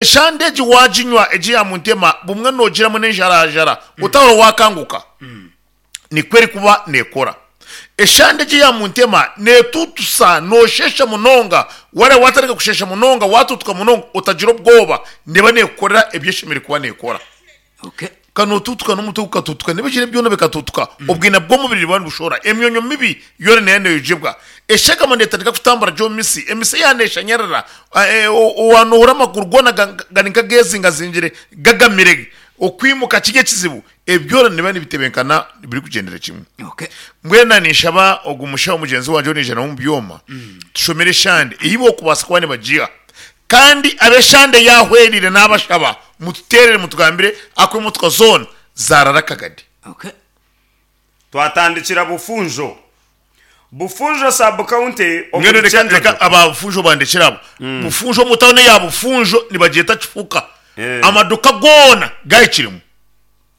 Eshande egi waaginywa egi ya muntema bumwe noogiramu n'enjarajara otahura waakanguka. Nikwo erikuba neekora. Eshande egi eya muntema neetuutusa noosheesha munonga, waareeba waatandika kusheesha munonga waatuutuka munonga otagira obwoba neeba neekukorera ebi eshemereire kuba neekora. Okay. Ka nootuutuka n'omutwe gukatuutuka n'ebigyere byona bikatuutuka, obwina bw'omubiri nibuba nibushohora, emyonyo mibi yoona neeba neeyogibwa. Eshagama neetandika kutambura gye omu mitsi, emitsi yaaba neeshanyarara, waanohura amaguru goona gari nk'ageezingazingire gagamire, okwimuka kiri ekizibu. Ebi byona nibiba nibitebenkana birikugyendera kimwe. Okay. Mbwenu ninshaba ogu mushaho mugyenzi wangye ou naija nawe omu byoma, tushomere eshande ei bookubaasa kuba nibagiha. Kandi ab'eshande yaahwereire naabashaba mututeerere mutugambire aku emotoka zoona zaarara Kagadi. Okay. Twatandikira Bufunjo. Bufunjo Sub County Mbwenu omuri reka Kyenjojo. reka aba Bufunjo bandekyere abo. Bufunjo omu tawuni eya Bufunjo nibagyeta Kifuka. Eh. Amaduka goona gahikiremu.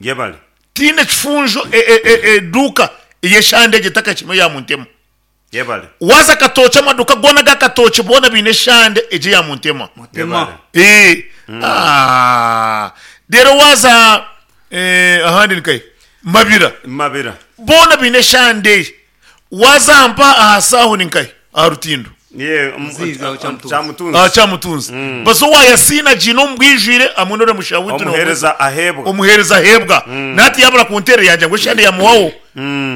Yebare. Tihaine kifunjo eduuka ey'eshande egyo etakahikiremu eya Muntema. Yebare. Waaza Katookye amaduuka goona aga Katookye boona baine eshande egyo eya Muntema. Mutema. Eeh aah reero waaza eh, ahandi ni nkahi? Mabira. Mabira. Boona baine eshande. Waaza mpa aha Saaho ni nkahi? Aha rutindo. Ye, Muziizi aho Kyamutunzi. Kyamutunzi. Aha Kyamutunzi. Baza owa Yasiina agiine omu bwijwire hamwe n'oriya mushaho waitu niwe Omuheereza aheebwa. Omuheereza aheebwa. Na hati yaabura kunteerera yaagira ngu eshande yamuhwaho,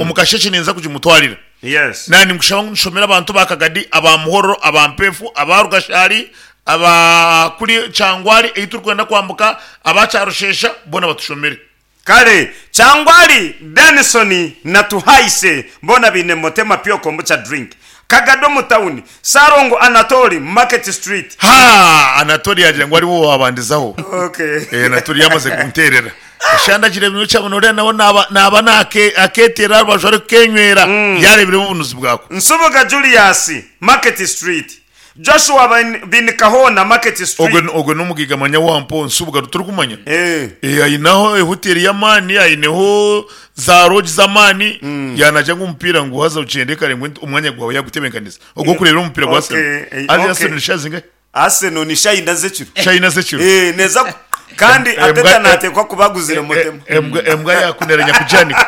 omu kasheshe ninza kugimutwarira. Yes. Naanye ninkushaba ngu nshomere abantu ba Kagadi, aba Muhororo, aba Mpeefu, aba Rugashari, aba kuri Kyangwari ei turikwenda kwambuka, aba Kyarushesha, boona batushomere. Kare, Kyangwari, Danison na Tuhaise boona baine Motema Pure Kombucha Drink. Kagadi omu tawuni, Ssalongo Anatoli, Market Street. Haa! Anatoli yaagira ngu ariwe owaabandizaho. Okay. Eh, Anatoli yaamaze kunteerera. Eshande agira ebinywekye kyabona oriya nawe naaba naaba naake akeeteera aha rubaju arikukenywera, yaareebireho obunuzi bwako. Nsubuga Julius, Market Street. Joshua Binikahona, Market Street. Ogwe ogwe n'omugaiga manya wa mpo Nsubuga turikumanya. Eh. Eh, aineho ehoteri y'amaani, aineho za lodge z'amaani, yaanagira ngu omupiira ngu haza ogyende kare ngu omwanya gwawe yaagutebeekanisa ogw'okureebera omupiira gwa Okay, Arsenal. eh, Haza okay. Arsenal ni shaaha zingahi? Arsenal ni shaaha ina z'ekiro. Shaaha ina z'ekiro. Eh, neeza ku- kandi Embwa- Arteta naateekwa kuba aguzire Mutema. Embwa embwa yakunera nyakugyanika.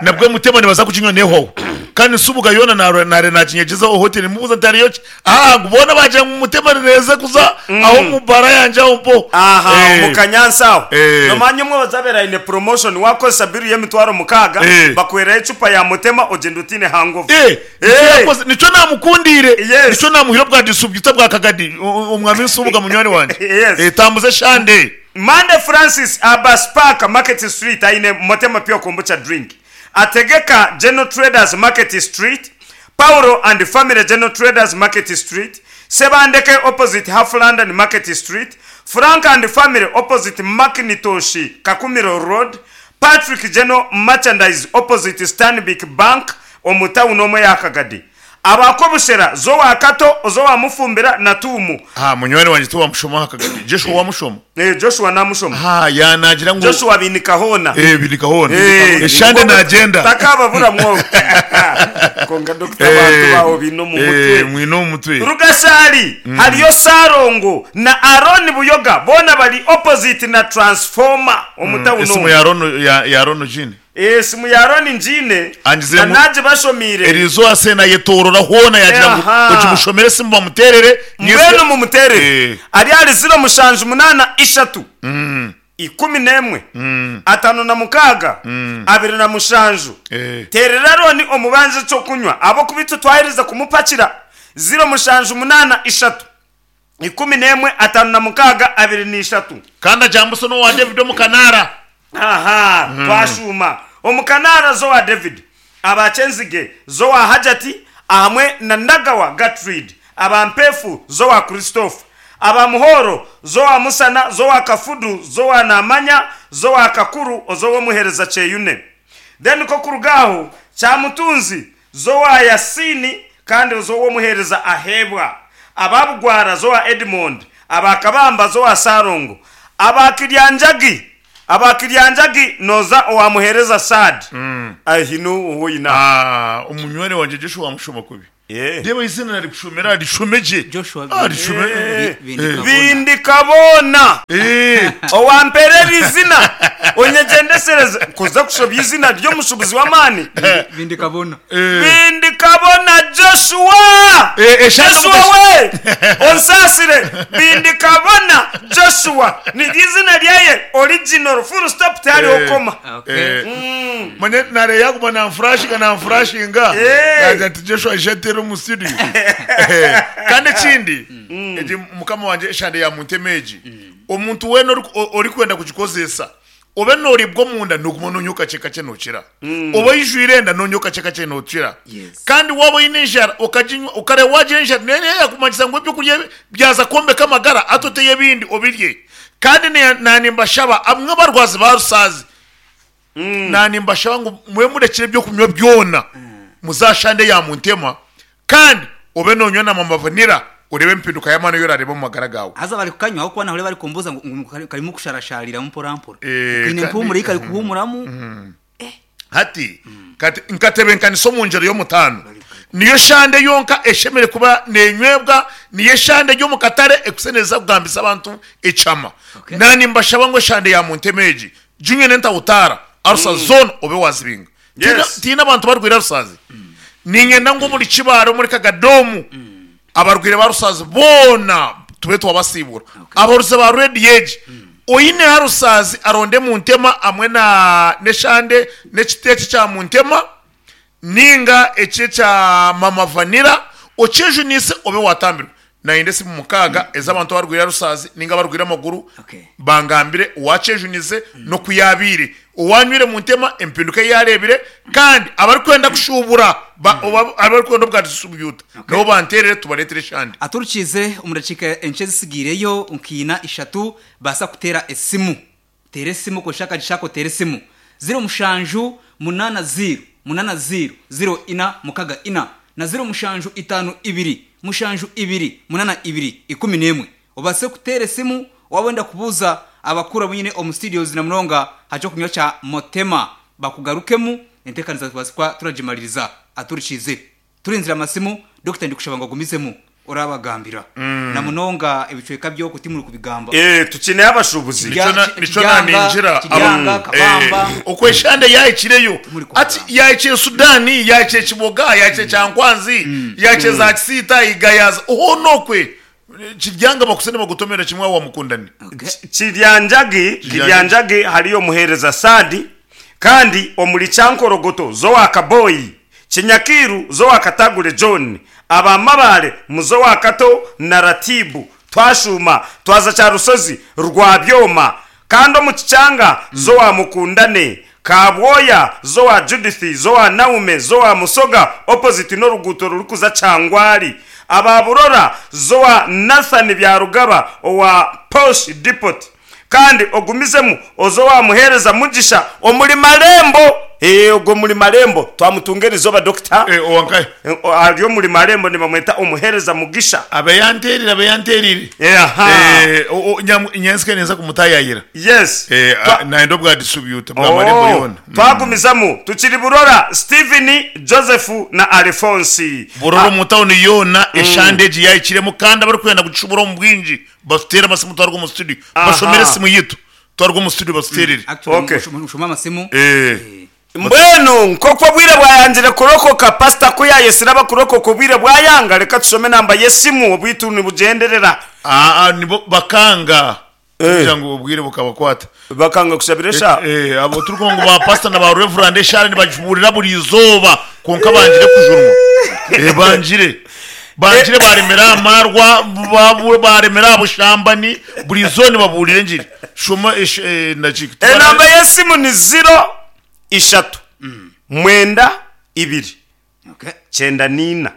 Nabwo Mutema nibaza kuginywa nehwaho. Kandi Nsubuga yoona naarora naare naaginyegyeza omu hoteri nimubuuza nti hariyo ki? Aa ngu boona baagira ngu Mutema nineeza kuza aho omu baara yangye aho mpo. Aha, Eh, omu kanyansi aho. Eh. Nomanya omwe ozabeera aine promotion wakozesa bill y'emitwaro 6 Eh. bakuherayo ecupa ya Mutema ogyenda otaine hangover. Eh, nikyo Eh. yakoze, nikyo naamukundiire, Yes. nikyo naamuhaire obwa disubwita bwa Kagadi, o- o- omwami Nsubuga munywani wangye. Yes. Eh, tambuza eshande. Mande Francis aba Spark Market Street aine Motema Pure Kombucha Drink. Ategeka General Traders Market Street, Paulo and Family General Traders Market Street, Sebandeke opposite Half London Market Street, Frank and Family opposite Macintosh Kakumiro Road, Patrick General Merchandise opposite Stanbic Bank omu tawuni omwe eya Kagadi. Aba Kobushera, Zowa Kato, Ozowa Mufumbira na Tuumu. Ha, munywani wangye tiwamushoma aha Kagadi. Joshua wamushoma? Eh, Joshua namushoma. Ha, yaanaagira ngu. Joshua Binika hoona. Eh, Binika hoona. Eh, Eshande naagyenda. Takababura mwogo. Kwonka dokita abantu baawe baine omu mutwe. Eh, mwine omu mutwe. Rugashaari, hariyo Ssalongo na Aron Buyoga boona bari opposite na transformer omu tawuni Esimu omu. ya Aron ya, ya Aron Jean. Esimu ya Aron ngiine Angizire na ngu naagibashomiire. Eriizooba Sena ayetoorora hoona yaagira ngu Aha. ogimushomere esimu bamuteerere Mbwenu mumuteerere. Eh. Ari ahari ziro mushanju munaana ishatu, 11, 56, 27. Eh. Teerera Arooni omubanje eky'okunywa, ahabw'okuba itwe twaherize kumupakira. Ziro mushanju munaana ishatu, 11, 56, 23. Kandi agyambusa n'owa David omu Kanaara. Aha, twashuuma. Omu Kanaara z'owa David, aba Kyenzige z'owa Hajati ahamwe na Nagawa Gertrude, aba Mpeefu z'owa Christopher, aba Muhooro z'owa Musana z'owa Kafudu z'owa Namanya z'owa Kakuru oz'ow'omuheereza Kyeyune. Then ko kuruga aho Kyamutunzi z'owa Yasini kandi oz'ow'omuheereza Aheebwa, aba Bugwara z'owa Edmond, aba Kabamba z'owa Ssalongo, aba Kiryanjagi, aba Kiryanjagi noza owa muheereza Saad. Ahi n'ou oine aho. Ah, omunywani wangye Joshua wamushoma kubi. Eh. Reeba eiziina narikushomera rishome gye. Joshua Ah, rishome. Eh. Bindikabona. Bindikabona. Eh. Owampeera eri izina onyegyendesereze kuza kushobya izina ry'omushubuzi w'amaani. Bindikabona. Bindikabona Joshua! Eh, eshaaha Joshua we! Onsaasire! Bindikabona Joshua niryo izina ryaye original full stop tihariho koma. Okay. Manya nare yaguma nanfurashinga nanfurashinga Eh. nagira nti Joshua aije ateere omu studio. Eh, Kandi ekindi egi mukama wangye eshande ya muntema egi omuntu weena ori- o- orikwenda kugikozesa obe noribwa omunda noguma nonywa kakye kakye nokira oba oijwire enda nonywa kakye kakye nokira Yes. kandi waaba oine enjara okaginywa okareba wagira enjara nayo niyo yakumanyisa ngu ebyokurya byaza kwombeka amagara hati oteyo ebindi obirye kandi na nimbashaba abamwe abarwazi ba rusaazi na nimbashaba ngu mube murekire ebyokunywa byona muzashande ya muntema kandi obe nonywa na mama vanilla orebe empinduka y'amaani eyi orareeba omu magara gaawe. Haza bari kukanywa ahabw'okuba nahurira bari kumbuuza ngu ngu karimu kusharashariramu mporampora. Eh, Kaine kandi- empumuro ei kari kuhuumuramu. Hati kati nkatebenkanisa omu ngyero y'omutaano. Niyo shande yonka eshemereire kuba nenywebwa, niyo eshande eri omu katare ekusenereza kugambisa abantu ekyama. Okay. Na nimbashaba ngu eshande ya muntema egi, ginywe n'entahutaara, arusa zoona obe wazibinga. Tihaine Yes. tihaine abantu barwaire arusazi? Niinyenda ngu omuri Kibaare, omuri Kagadomu, abarwaire ba Rusaazi boona tube twabasiibura. Abahuuriza ba rediyo egi, oine aha Rusaazi aronde Muntema hamwe na n'eshande n'ekiti eki ekya Muntema nainga eki ekya Mama Vanilla okyejuniise obe waatambirwa. Nayenda esimu mukaaga ez'abantu abarwaire Rusaazi nainga abarwaire amaguru Okay. bangambire owaakyejunize n'oku yaabaire, owaanywire Muntema empinduka ei yaareebire kandi abarikwenda kushuubura ba- oba abarikwenda obwa disitribyuta nabo banteerere tubareetere eshande. Aturukiize omu dakiika enkye ezitsigaireyo nka ina ishatu baasa kuteera esimu. Teera esimu kozesa akagisha ako oteere esimu. Ziro mushanju munaana ziiro munaana ziiro ziiro ina mukaga ina na ziro mushanju itaano ibiri mushanju ibiri munaana ibiri 11. Obaase kuteera esimu waaba orenda kubuuza abakuru abu nyine omu studios na munonga aha ky'okunywa kya Motema bakugarukemu enteekanisa tubaase kuba turagimaririza. Aturikiize. Turinzire amasimu, Dokita ndikushaba ngu ogumizemu orabagambira na munonga ebicweka by'oku timuri kubigamba. Eh, tukineyo abashuubuzi. Nikyo na- nikyo Kiryanga, naningira Kiryanga, Kabamba. okwo eshande yahikireyo Timuri kubigamba. ati yahikire Sudani yahikire Kiboga yahikire Kyankwanzi yahikire za Kisiita Igayaza hoona okwe Kiryanga bakuse nibagutomera kimwe aho wamukundani. Okay. Kiryanjagi, Kiryanjagi hariyo omuheereza Saadi, kandi omuri Kyankorogoto z'owa Kaboyi, Kinyakiiru z'owa Katagure John, aba Mabaare mu z'owa Kato na Ratibu, twashuuma twaza Kyarushozi Rwabyoma, kandi omu Kikyanga z'owa Mukundane, Kabwoya z'owa Judith z'owa Naume z'owa Musoga opposite n'oruguuto rurikuza Kyangwali, aba Burora z'owa Nathan Byarugaba owa Posh Depot. Kandi ogumizemu oze owa Muheereza Mugisha omuri Marembo. Ee, ogwo omuri Marembo twamutunga erizooba Dokita. Eh, owa nkahe? Ari omuri Marembo nibamweta Omuheereza Mugisha. Abe yanteerire, abe yanteerire. Eh, aha. Eh, o- o- nyam- nyentsya ninza kumutaayayira. Yes. Eh, Twa- a- nayenda obwa distributor bwa Marembo Oh, yoona. twagumizamu tukiri Burora, Steven, Joseph na Alphonse. Burora Ah, omu tawuni yoona eshande egi yaahikiremu kandi abarikwenda kugishubura omu bwingi batuteere amasimu twaruga omu studio. Aha. Bashomere esimu yitu twaruga omu studio batuteerere. Actually, Okay. mushome amasimu. Eh. Mbwenu nk'oku obwire bwayangire kurokoka, pasita ku yaayetsire abakurokoka obwire bwayanga, reka tushome enamba y'esimu obwitu nibugyenderera. Aa nibo bakanga kugira ngu obwire bukabakwata. Bakanga kushabira esha. Eh, abo turikugira ngu ba pasita na ba reverand eshaara nibagibuurira buri izooba kwonka bangire kujunwa. Eh, bangire. Bangire baremera aha marwa, babu- baremera aha bushambani, buri izooba nibabuurira engiri. Shoma esh- eh, naki. Enamba y'esimu ni ziro ishatu mwenda ibiri Okay. kyenda n'ina.